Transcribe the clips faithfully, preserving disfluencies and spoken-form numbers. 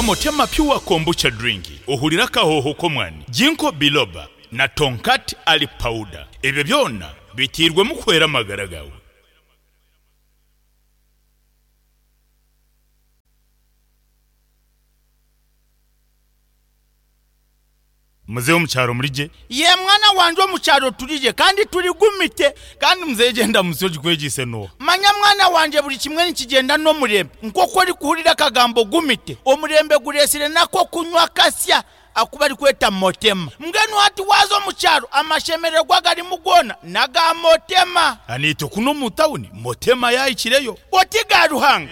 Motema Pure Kombucha Drink ohurire akahoho k'omwani, Ginkgo Biloba na Tongkat Ali Powder. Ebyo byona biteirwemu kuhwera amagara gaawe. Muzeeyi omu kyaro muri gye? Yee mwana wangye omu kyaro turi gye kandi turi gumite. Kandi muzeeyi gyenda musyo ogikwegyeise n'oha? Manya mwana wangye buri kimwe nikigyenda n'omurembe. Nk'oku orikuhurira akagambo gumite, omurembe gureetsire n'ak'okunywa akasya aku barikweta Motema. Mbwenu hati waaza omu kyaro amashemererwa agarimu goona n'aga Motema. Naitwe kunu omu tauni Motema yaahikireyo. Oti ga Ruhanga!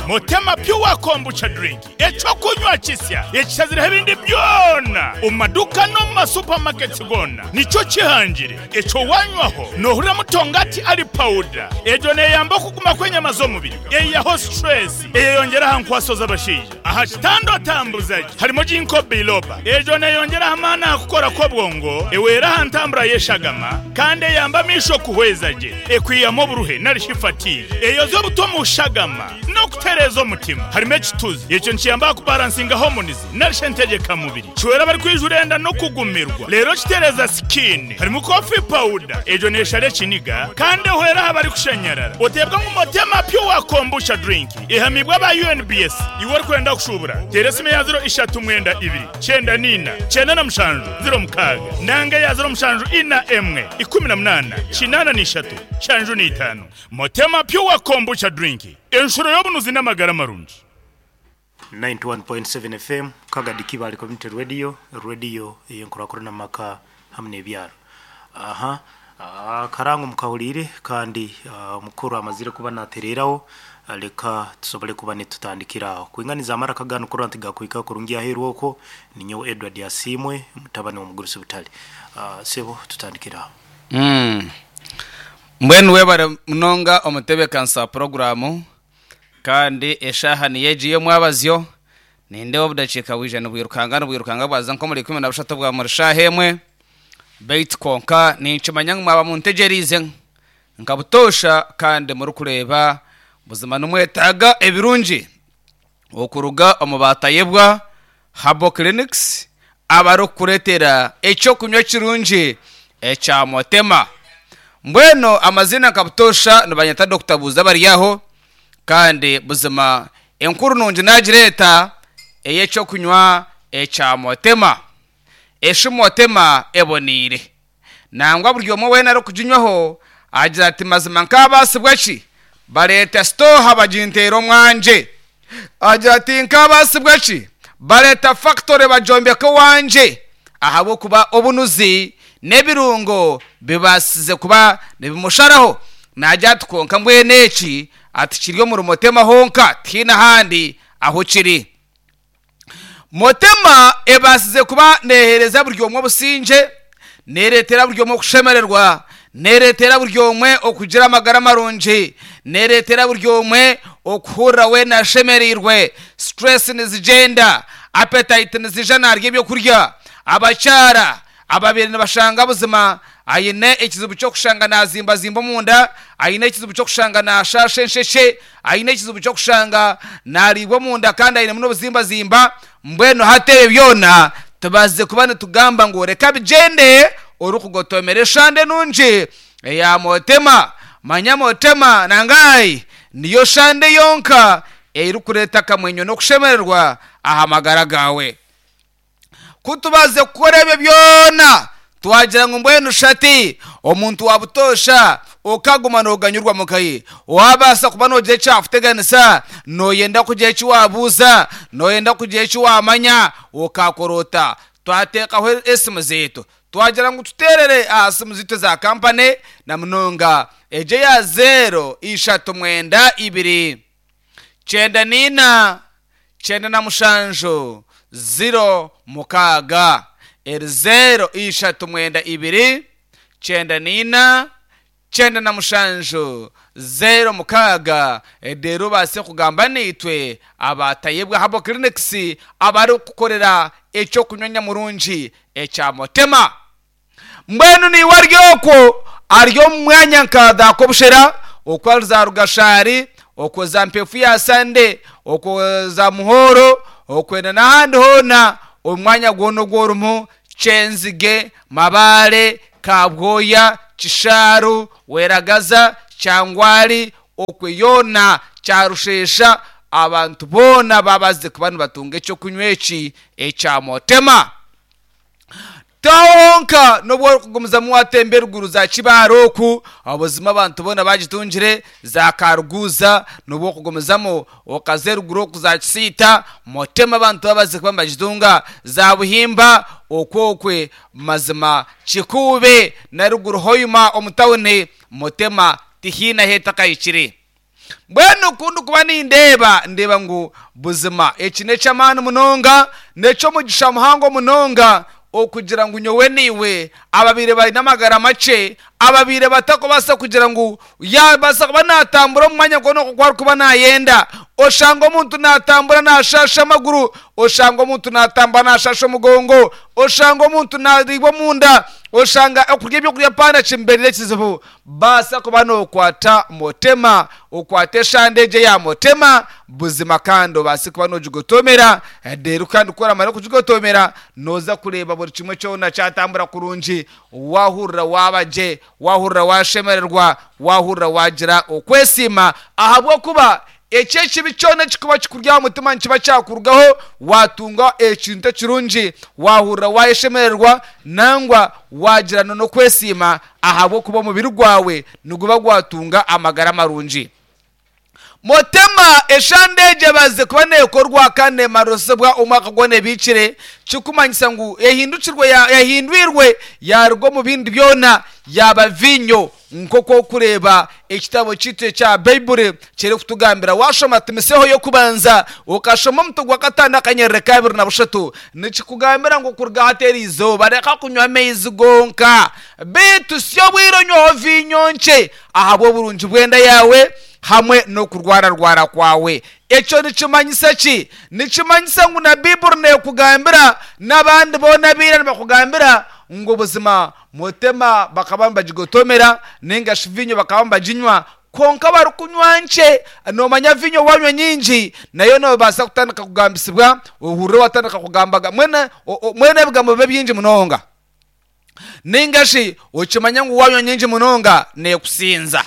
Motema Pure Kombucha Drink, eky'okunywa kisya ekishazireho ebindi byona omu maduuka n'omu ma supermarkets goona nikyo kihangire. Ekyo waanywaho noohuriramu Tongati Ali Powder. Egyo neeyamba okuguma kw'enyama z'omubiri, eihaho stress, eyeyongyera aha nkwaso z'abashaija. Aha kitanda otambuza gye harimu Ginkgo Biloba. Egyo neeyongyera aha maani aha kukora kw'obwongo, ehwera aha ntambura y'eshagama kandi eyamba amaisho kuhweza gye, ekwihamu oburuhe nari shi fatigue, eyozya obutwa omu shagama n'okutereeza omutima. Harimu ekituzi, ekyo nikiyamba aha kubaransinga hormones nari shi entegyekamubiri. Kihwera abarikwijura enda n'okugumirwa reero kitereeza sikiini. Harimu coffee powder, egyo neeshara ekiniga kandi ehwera aha barikushanyarara. Oteebwa ngu Motema Pure Kombucha Drink ehamiibwe aba U N B S. Iwe orikwenda kushuubura, teera esimu eya ziro ishatu mwenda ibiri, kyenda naina, kyenda na mushanju, ziro mukaaga, nanga eya ziro mushanju ina emwe, ikumi na munaana, kinaana na ishatu, nshanju na itaano. Motema Pure Kombucha Drink, enshuro y'obunuzi n'amagara marungi. ninety-one point seven F M, Kagadi Kibaale Community Radio, radio ey'enkurakurana mu maka hamwe n'ebyaro. Aha ah, karango mukahuriire kandi ah, omukuru amazire kuba natereeraho. ah, leka tusobole kuba nitutandikira aho kwinganiza amara kagano kurora nti gakuhika kurungi aheeru. Okwo ninyowe Edward Asiimwe, mutabani w'omugurusi Butale. Ah, sebo, tutandikira aho. Mm. mbwenu webare munonga omutebekanisa wa puroguramu. Kandi eshaaha niyo egi y'omwabazyo, nindeeba obudakiika bwija nibwirukanga nibwirukanga bwaza nk'omuri ikumi na bushatu bwa muri shaaha emwe. Baitu konka ninkimanya ngu mwaba muntegyereize nka butoosha kandi murikureeba buzima nimwetaaga ebirungi okuruga omu Batayebwa Herbal Clinics, abarikukureetera ekyokunywa kirungi ekya Motema. Mbwenu amazina nka butoosha nibanyeta Doctor Buuza bari aho. Kandi buzima enkuru nungi nagireeta ey'ekyokunywa ekya Motema. Eshi Motema eboniire, nangwa buri omwe weena arikuginywaho agira ati, "Mazima nkaabaasibwa ki bareeta sitoha baginteera omwangye?" Agira ati, "Nkaabaasibwa ki bareeta factory bagyombeka owangye?" Ahabw'okuba obunuzi n'ebirungo bibaasize kuba nibimusharaho. Nagira ati, konka mbwenu eki ati kiri omuri Motema honka, tihaine ahandi aho kiri. Motema ebaasize kuba neehereza buri omwe obusingye, neereetera buri omwe okushemererwa, neereetera buri omwe okugira amagara marungi, neereetera buri omwe okuhurira weena ashemereirwe. Stress nizigyenda, appetite nizija, narya ebyokurya. Abakyara ababaire nibashanga buzima aine ekizibu ky'okushanga nazimbazimba omunda, aine ekizibu ky'okushanga nashasha ensheshe, aine ekizibu ky'okushanga nariibwa omunda kandi ainemu n'obuzimbazimba, mbwenu hati ebyo byona tubazize kuba nitugamba ngu reka bigyende orikugotomera eshande nungi eya Motema. Manya Motema nangayi niyo shande yonka erikureeta akamwenyo n'okushemererwa aha magara gaawe. Kutubaze kukora ebyo byona, twagira ngu mbwenu shati omuntu wa butoosha okaguma nooganyurwa mukaye, wabaasa kuba noogira ekyakuteganisa, nooyenda kugira eki wabuuza, nooyenda kugira eki wamanya, okakora ota? Twateekaho esimu zaitu, twagira ngu tuteerere aha simu zaitu za kampani, na munonga egyo eya zeero ishatu mwenda ibiri kyenda niina kyenda na mushanju ziro mukaaga. Eri zeero ishatu mwenda ibiri kyenda niina kyenda na mushanju zero mukaaga. Rero obaase kugamba naitwe Abatayebwa Herbal Clinics, abarikukorera ekyokunywa nyamurungi ekya Motema. Mbwenu niiwe ari okwo ari omu mwanya nka Dakobushera, okwo ari za Rugashari. Okwo za Mpefu ya Sande, okwo za Muhoro, okwenda n'ahandi hoona, omwanya gwona ogu orimu, Kyenzige, Mabale, Kabwoya, Kisharu, Weragaza, Kyangwali, okwe yoona Kyarushesha, abantu boona babaze kuba nibatunga ekyokunywa eki ekya Motema. Tahonka nobwo orikugumizamu watemba eruguru za Kibaare oku, obuzima abantu boona bagitungire, za Karuguza, nobwo okugumizamu okaza eruguru oku za Kisiita, Motema abantu babaze kuba nibagitunga, za Buhimba okwo okwe mazima Kikuube na ruguru Hoima omu tawuni, Motema tihiine ahu etakahikire. Mbwenu ku ndikuba nindeeba, ndeeba ngu buzima eki n'eky'amaani munonga, n'eky'omugisha muhango munonga okugira ngu nyowe naiwe ababaire baine amagara makye, ababaire batakubaasa kugira ngu yabaasa kuba naatambura omu mwanya gwona ogu arikuba naayenda. Oshanga omuntu naatambura naashaasha amaguru, oshanga omuntu naatambura naashaasha omugongo, oshanga omuntu naariibwa omunda, oshanga okurya ebyokurya paana kimubeerire ekizibu. Baasa kuba nookwata Motema, okwate eshande egyo eya Motema, buzima kandi obaase kuba noogigotomera, reero kandi ku oramara kugigotomera, nooza kureeba buri kimwe kyona kyatambura kurungi, waahurira waaba gye, waahurira waashemererwa, waahurira waagira okwesiima, ahabw'okuba eki ekibi kyona ekikuba kikuri aha mutima nikiba kyakurugaho, waatunga ekintu ekirungi, waahurira waayeshemererwa, nangwa waagira n'okwesiima ahabw'okuba omubiri gwawe niguba gwatunga amagara marungi. Motema eshande egyo ebaze kuba neekorwa kandi neemarosibwa omwaka gwona ebiikire, kikumanyisa ngu ehindukirwe yahindwirwe yaruga omu bindi byona yaaba viinyo, nk'oku orikureeba ekitabo kyaitu ekya Baiburi kirikutugambira. Waashoma Timoteho y'okubanza okashoma omutwe gwa kataano akanyerere ka abiri na bushatu, nikikugambira ngu kuruga hati eri izooba reka kunywa amaizi gonka, beitu si obwire onyweho viinyo nkye ahabw'oburungi bw'enda yaawe hamwe n'okurwararwara kwawe. Ekyo nikimanyisa ki? Nikimanyisa ngu na Baiburi neekugambira n'abandi boona abaira nibakugambira ngu buzima Motema bakaba nibagigotomera ninga shi viinyo bakaba nibaginywa, kwonka barikunywa nkye. Noomanya viinyo waanywa nyingi nayo noobaasa kutandika kugambisibwa, ohurire waatandika kugamba mbwenu mbwenu ebigambo bibe bingi munonga. Ninga shi okimanya ngu waanywa nyingi munonga neekusinza.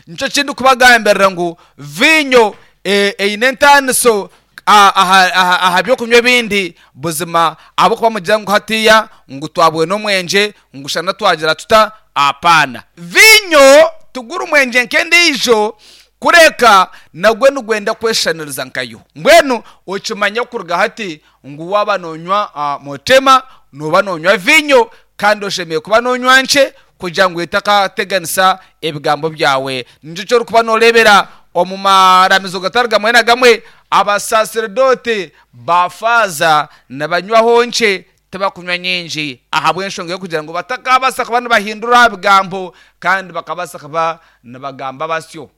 Nikyo kindikubagambirira ngu viinyo eine entaaniso aha byokunywa ebindi buzima, ahabw'okuba mugira ngu hatiiya ngu twabwine omwengye ngu shana twagira tuta, apaana. Viinyo tiguri mwengye nk'endiijo, kureka nagwo nigwenda kweshushaniriza nkayo. Mbwenu okimanye kuruga hati ngu waaba noonywa Motema, nooba noonywa viinyo kandi oshemereire kuba noonywa nkye kugira ngu etakateganisa ebigambo byawe. Nikyo eki orikuba nooreebera omu maramizo gatari gamwe na gamwe, abasaseredooti ba faaza nibanywaho nkye, tibakunywa nyingi ahabw'enshonga y'okugira ngu batakabaasa kuba nibahindura aha bigambo kandi bakabaasa kuba nibagamba basyo.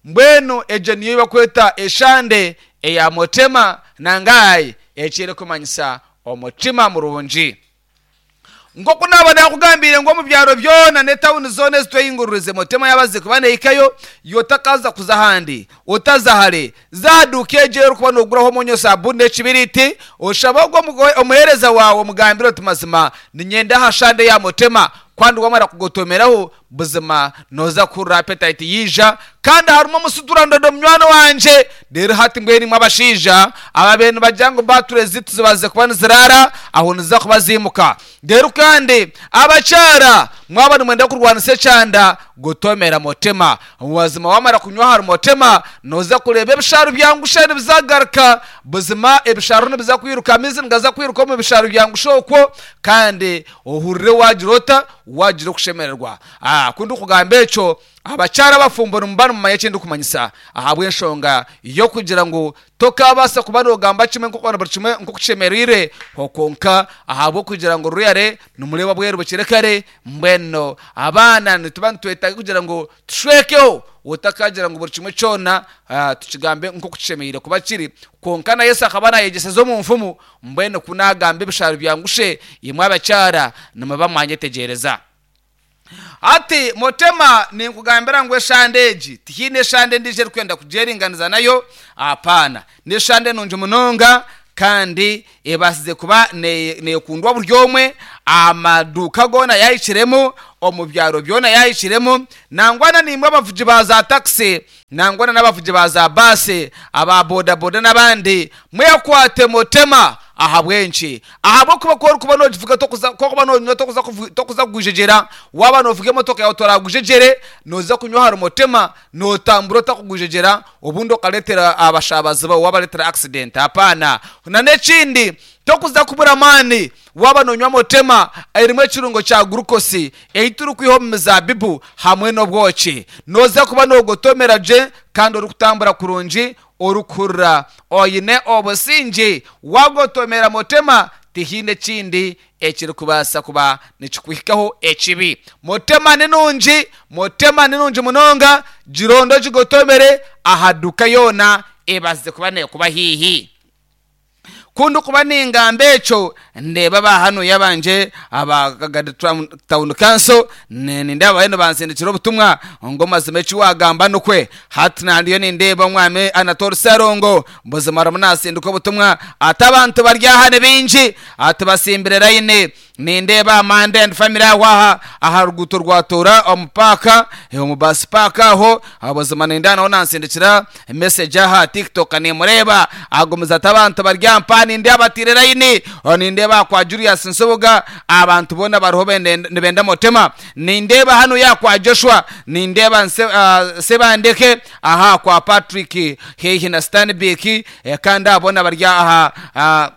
Mbwenu egyo niyo ei barikweta eshande eya Motema nangai ekirikumanyisa omutima murungi. Nk'oku naaba naakugambiire ngu omu byaro byona n'etawuni zoona ezitwehinguririze Motema yaabazize kuba neehikayo, iwe otakaza kuza ahandi, otaza hare, za aha duuka egyo ei orikuba nooguraho omwonyo, sabuuni n'ekibiriiti, oshabe ogwo omuheereza waawe omugambire oti mazima niinyenda aha shande ya Motema. Kandi waamara kugotomeraho buzima nooza kuhurira appetite yaija, kandi harimu omusuturandodo munywani wangye. Reero hati mbwenu imwe abashaija ababaire nibagira ngu battery zaitu zibazize kuba niziraara, aho niziza kuba ziimuka. Reero kandi abakyara mwaba nimwenda kurwanisa ekyanda, gotomera Motema. Mazima waamara kunywa ahari Motema, nooza kureeba ebishaaru byangusha nibizagaruka. Buzima ebishaaru nibiza kwiruka, amaizi nigaza kwiruka omu bishaaru byangusha okwo, kandi ohurire waagira ota, waagira okushemererwa. Ku ndikugamba ekyo, abakyara abafumbo nimuba nimumanya eki ndikumanyisa, ahabw'enshonga y'okugira ngu tokaabaasa kuba noogamba kimwe nk'oku buri kimwe nk'oku kishemereire, kwonka ahabw'okugira ngu ruyare nimureeba bweru bukiri kare, mbwenu abaana nituba nitwetaaga kugira ngu tushwekeho, otakagira ngu buri kimwe kyona tukigambe nk'oku kishemereire kuba kiri. Kwonka na Yesu akaba naayegyeseza omu nfumu, mbwenu ku naagamba ebishaaru byangushe, imwe abakyara nimuba mwanyetegyereza. Ati motema ninkugambira ngu eshande egi tihiine eshande endiijo erikwenda kugyeringaniza nayo, apana. N'eshande nungi munonga kandi ebasize kuba nekundwa buri omwe, amaduuka goona yahikiremu, omu byaro byona yahikiremu, nangwa nimwe abavugi ba za takisi, nangwa n'abavugi ba za baasi, aba bodaboda n'abandi, mwekwate motema ahabw'enki? Ahabw'okuba ku orikuba nogivuga tokuza kokuba nonywa tokuza tokuza kugwijegyera, waaba novuga emotoka yawe toragwijegyere, noza kunywa ahari motema notambura otakugwijegyera, obundi okareetera abashabazi bawe wabareetera accident. Hapana. Na n'ekindi tokuza kubura amaani waaba nonywa motema erimu ekirungo kya glucose ei turikwiha omu mizabibu hamwe n'obwoki. Noza kuba nogotomera gye kandi orikutambura kurungi, orikuhurira oine obusinge. Wagotomera motema tihiine ekindi ekirikubaasa kuba nikikuhikaho ekibi. Motema ni nungi, motema ni nungi munonga, gironde ogigotomere aha duka yoona ebazize kuba nekuba haihi. Kundi kuba ningamba ekyo ndeeba aba hano yabanje aba Kagadi Town Council, nindeeba bariyo nibansindikira obutumwa ngu amazima eki wagamba nukwe. Hati nandiyo nindeeba omwami Anatole Sarongo buzima arimu nasindika obutumwa ati abantu bari aha ni bingi, ati basimbire layini. Nindeeba Amanda and family aho aha aha ruguuto rwa Toora omu paaka, omu bus park aho buzima nindeeba nawe nansindikira message aha TikTok nimureeba agumiza ati abantu bari aha mpa nindeeba batiire layini. Nindeeba kwa Julius Nsubuga abantu boona bariho nibenda motema. Nindeeba hanu ya kwa Joshua, nindeeba uh, Sebandeke aha kwa Patrick heihi na Stanbic, kandi abona bari aha uh,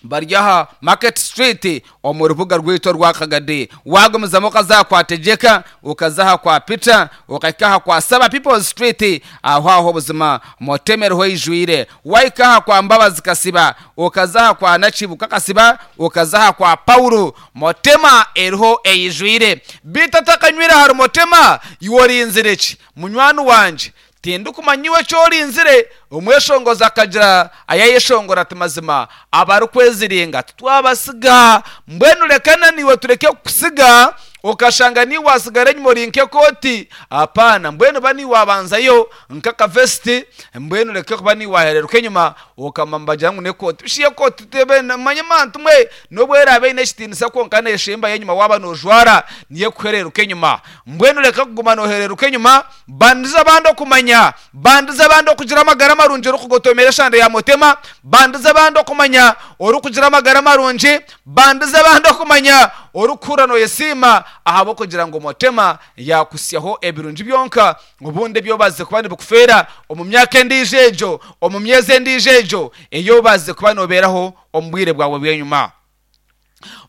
bari aha Market Street omu rubuga rwaitu rwa Kagadi. Wagumizamu okaza kwa Tegyeka, okaza kwa Peter, okahika aha kwa Saba People's Street, aho aho buzima motema eriho eijwire. Wahika aha kwa Mbabazi Kasiba, okaza aha kwa Nakibuka Kasiba, okaza aha kwa Paulo, motema eriho eijwire. Beitu otakanywire ahari motema, iwe orinzire ki? Munywani wangye, tindikumanya iwe eki orinzire. Omweshongozi akagira ayayeshongora ati mazima abarikweziringa titwabasiga, mbwenu rekana niiwe tureke kukusiga okashanga niiwe wasigara enyima ori nk'ekooti. Apana, mbwenu ba niiwe wabanzayo nk'akavesiti, mbwenu reke kuba niiwe wahereruka enyima okama nibagira ngu n'ekooti. Bishi ekooti tebe manya mantu mwe n'obu eraabe eine ekitiinisa kwonka neeshembayo enyima waaba noojwara niyo ekuhereruka enyima. Mbwenu reka kuguma noohereruka enyima, bandiza abandi okumanya, bandiza abandi okugira amagara marungi orikugotomera eshande ya motema, bandiza abandi okumanya orikugira amagara marungi, bandiza abandi okumanya orikuhurira noyesiima ahabw'okugira ngu motema yakusyaho ebirungi byonka, obundi ebyobazize kuba nibikufeera omu myaka endiijo egyo, omu myezi endiijo egyo eyobazize kuba nobeeraho omu bwire bwawe bw'enyima.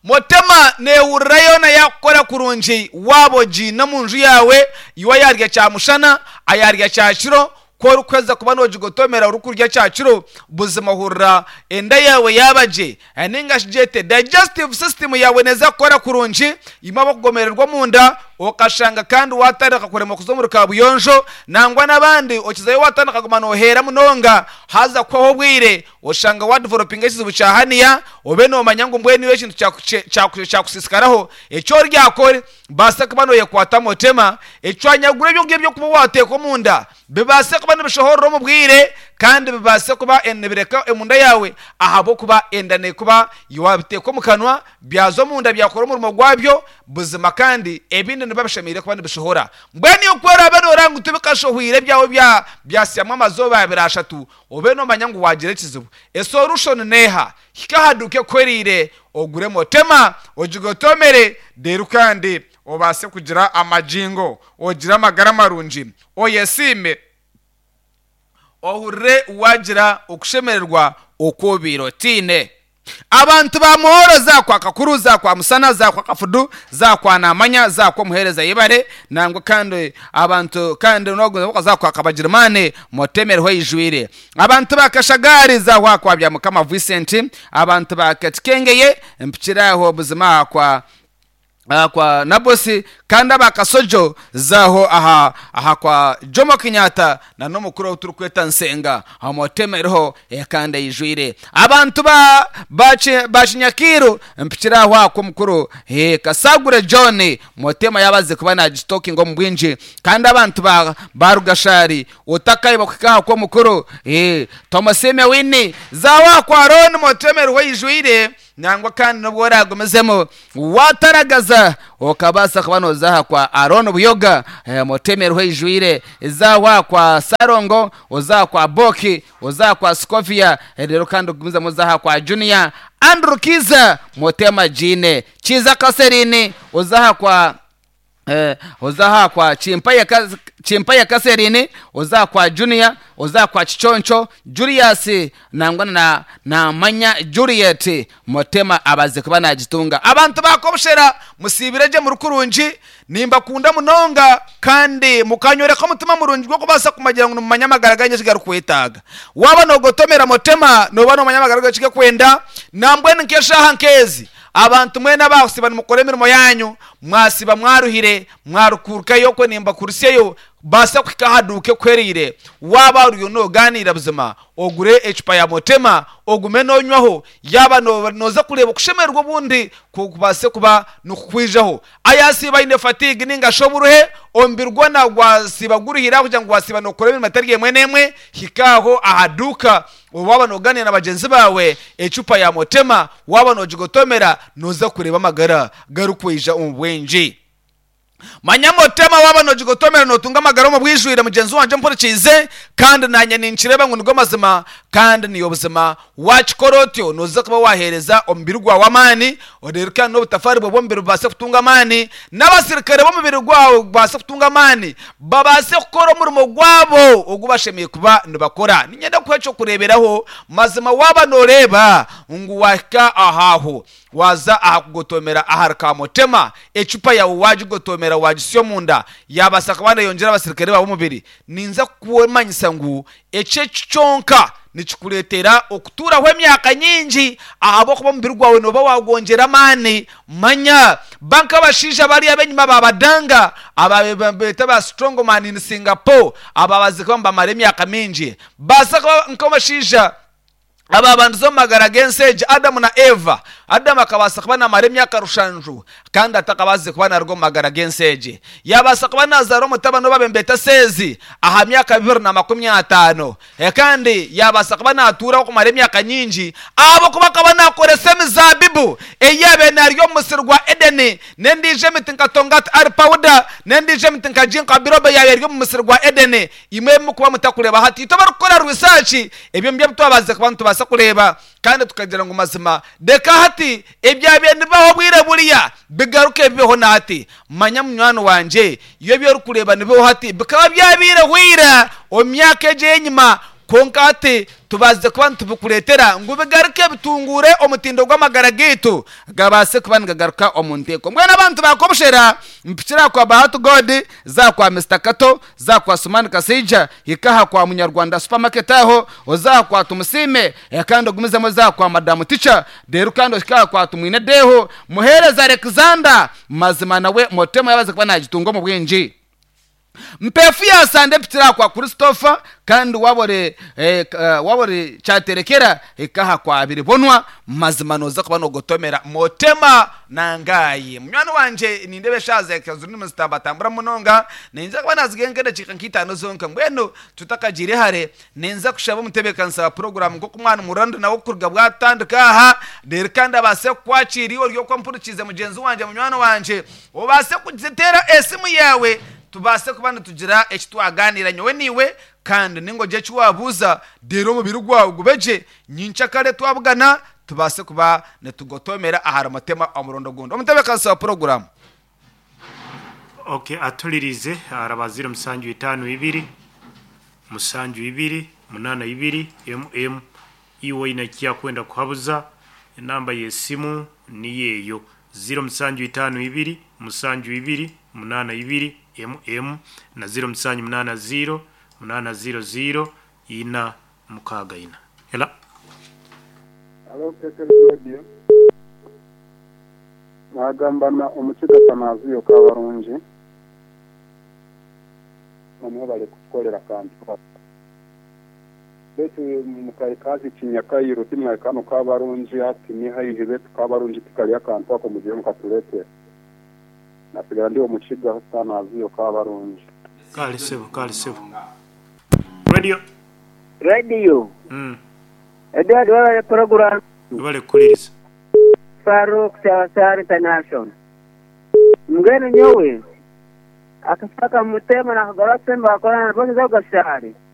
Motema nehurira yoona yakukora kurungi waaba ogiine omu nju yaawe, iwe ayarya kyamushana, ayarya kyakiro, ku orikuheza kuba nogigotomera orikurya kyakiro, buzima ohurira enda yawe yaaba gye, ninga shi gyete digestive system yawe neeza kukora kurungi, imwe abakugomererwa omunda okashanga kandi watandika kuremwa kuza omuri kabuyonjo, nangwa n'abandi okizayo watandika kuguma noheera munonga, haza kuhwaho obwire oshanga wadevelopinga ekizibu kya haniya, obe nomanya ngu mbwenu iwe ekintu kyakusiisikaraho eki oryakore baasa kuba noyekwata motema, ecwanyagura ebyo ngibyo ebyokuba wateeka omunda bibaase kuba nibishohorera omu bwire kandi bibaase kuba nibireka emunda yawe, ahabw'okuba enda nekuba wabiteeka omu kanwa byaza omunda byakora omurimo gwabyo buzima, kandi ebindi nibiba bishemereire kuba nibishohora. Mbwenu iwe ku oraabe nooreba ngu tibikashohwire ebyawe byasyamu amazooba abiri ashatu, obe nomanya ngu wagira ekizibu. Esolution neeha? Hika aha duuka ekuhwereire ogure motema ogigotomere, reero kandi obaase kugira amagingo, ogire amagara marungi, oyesiime, ohurire wagira okushemererwa oku obaire otiine. Abantu ba Muhoro za kwa Kakuru, za kwa Musana, za kwa Kafudu, za kwa Namanya, za kwa Muhereza Yebare, nangwa kandi abantu kandi noguza za kwa Kabagirimane motemerho ijwire. Abantu ba Kashagari za kwa kwa Byamukama Vincent, abantu ba Katikengeye mpikiraho buzima kwa ah, kwa Nabosi, kandi abakasojo zaho aha aha kwa Jomo Kenyatta na n'omukuru turi kweta Nsenga amotema eriho eh, kandi eyijwire abantu ba bachi- bakinyakiru mpikira aho ako mukuru eh, Kasagure John motema yabaze kuba nagitokinga omu bwingi, kandi abantu ba barugashari utakayi bakwikaha ko mukuru eh, Thomasime Wini zawa kwa Ron motema eriho eyijwire nangwa, kandi nubwo oragumizemo wataragaza okabasa kuba nozaha kwa Aron Buyoga eh, motemerwe ijwire zawa kwa Sarongo, ozaha kwa Boki, ozaha kwa Scovia eh, rero kandi ugumizemo ozaha kwa Junior Andrew Kiza motema jine Kiza Kaserini, ozaha kwa eh, ozaha kwa Chimpaya Kaz- Chimpaya Kaserini, ozaha kwa Junior, ozaha kwa Chichoncho Julius nangwa na na manya Juliet motema abaze kuba nagitunga. Abantu bakobushera musibireje mu rukurungi, nimbakunda munonga kandi mukanyoreka omutima murungi gw'okubaasa kumagira ngu nimumanya amagara ganyu ekigarukwetaaga. Waaba nogotomera motema noba nomanya amagara gawe ekigakwenda. Nambwenu nk'eshaaha nk'ezi abantu mwena abakusiba nimukora emirimo yanyu, mwasiba mwaruhire mwarukurukayo kwe nimbakurusyeyo basa kuhika ahaduuka ekwerire. Waaba oriyo noganiira buzima ogure ecupa ya motema ogume nonywaho, yaba no- noza kureeba okushemererwa obundi kubase kuba nikukwijaho. Ayasiba aine fatigue ninga shi oburuhe omubiri gwona gwasiba guruhire kugira ngu wasiba nokora emirimo etari emwe n'emwe, hikaaho ahaduuka waba noganira na bagenzi bawe ecupa ya motema waba nogigotomera noza kureeba amagara garukwija omu bwingi. Manya motema waba nogigotomera notunga amagara omu bwijwire. Mugenzi wanje mpurikiize kandi nanye ninkireba ngu nigo mazima kandi niyo buzima. Wakikora otyo noza kuba wahereza omubiri gwawe amaani, rero kandi n'obutafari bwe bw'omubiri bubase kutunga amaani, n'abasirikare b'omubiri gwawe bubase kutunga amaani, babase kukora omurimo gwabo ogu bashemiye kuba nibakora. Ninyenda kuha ekyokureeberaho mazima. Waba noreeba ngu wahika ahaho waza aha kugotomera ahari ka motema, ecupa yawe wagigotomera wagisya omunda yabasa kuba neyongyera abasirikare bawe omubiri. Ninza kukumanyisa ngu ekyo kyonka nikikureetera okutuuraho emyaka nyingi ahabw'okuba omubiri gwawe noba wagwongyera amaani. Manya banka abashaija bari ab'enyima babadanga ababeeta ba strongman in Singapore ababazi kuba nibamara emyaka mingi, baasa kuba nk'abashaija aba bantu omu magara g'ensi egi Adamu na Eva. Adamu akabaasa kuba namara emyaka rushanju kandi atakabaasize kuba naruga omu magara g'ensi egi, yabaasa kuba nazaara omutabani obabe Seezi aha myaka bibiri na makumi ataano. E, kandi yabaasa kuba natuuraho kumara emyaka nyingi ahabwokuba akaba nakoresa emizabibu eyabe nari omu musiri gwa Edeni, n'endiijo emiti nka tongati ari powder, n'endiijo emiti nka ginkgo biloba yabe eri omu musiri gwa Edeni. Imwe mukuba mutakureeba hati itwe barikukora research ebyo nibyo twabaze kuba nitubaasa kureeba kandi tukagira ngu mazima reka hati ebyabiire nibibaho bwire buriya bigaruke bibeho nahati. Manya munywani wanje, iyo ebyo orikureeba nibibaho hati bikaba byabiire hwira omu myaka egyo enyima, konka hati tubaze kuba nitubikureetera ngu bigaruke bitungure omutindo gw'amagara gaitu gabaase kuba nigagaruka omu nteeko. Mbwenu abantu bakobushera mpikira kwa Bahatu God, za kwa Mister Kato, za kwa Sumani Kasija, hikaha kwa Munyarwanda supermarket aho ozaha kwa Tumusime eh, kandi ogumizemo za kwa Madamu Ticha rero kandi hikaha kwa Tumwine Deho Muhereza Alexander. Mazima nawe motema yabaze kuba nagitunga mu bwingi. Mpefu yasande mpitira kwa Christopher, kandi wabore eh, uh, wabore cyaterekera ikaha kwa biribonwa. Mazima noza kuba nogotomera motema nangaye munywani wanje nindebe shaza kazuri zitambatambura munonga ninza kuba nazigenga dakika nk'itano zonka. Mbwenu tutakagire hare ninza kushaba omutebekanisa wa program nk'oku mwana murando nawe kuruga bwatandika aha rero kandi abase kukwakira iwe ori okwampurikize mugenzi wanje munywani wanje obase kugitera esimu yawe tubase kuba nitugira eki twaganira nyowe niwe kandi ningoje eki wabuuza rero omubiri gwawe gubeje nyincakare twabugana tubase kuba nitugotomera ahari mutema omurundo gundi omutebekanisa wa poroguramu. Okay, atulirize araba ziro musanju itaano ibiri musanju ibiri munana ibiri mm iwe inakia kwenda kuhabuza enamba y'esimu niyo eyo ziro musanju itaano ibiri musanju ibiri munana ibiri mm na ziro musanju munana ziro munana ziro ziro ina mukaaga ina hela. Hello, Kekere Radio. Nagambana omukiga Tanaziyo Kabarungi. Namwe bari kutukorera kantu. Betu mukaikazi kinyakayiro timwaikano Kabarungi ati ni haihi betu Kabarungi tikali akantu ako mugiye mukatuletera. Nasigara ndi omukiga Tanaziyo Kabarungi. Kale sebo, kale sebo. Radio. Radio. Mm. Edward wabale program Webale kukuliriza. Faruk Chawasar International. Mgeni nyowe akasaka mutema na kagora semba akora na bosi za gashari.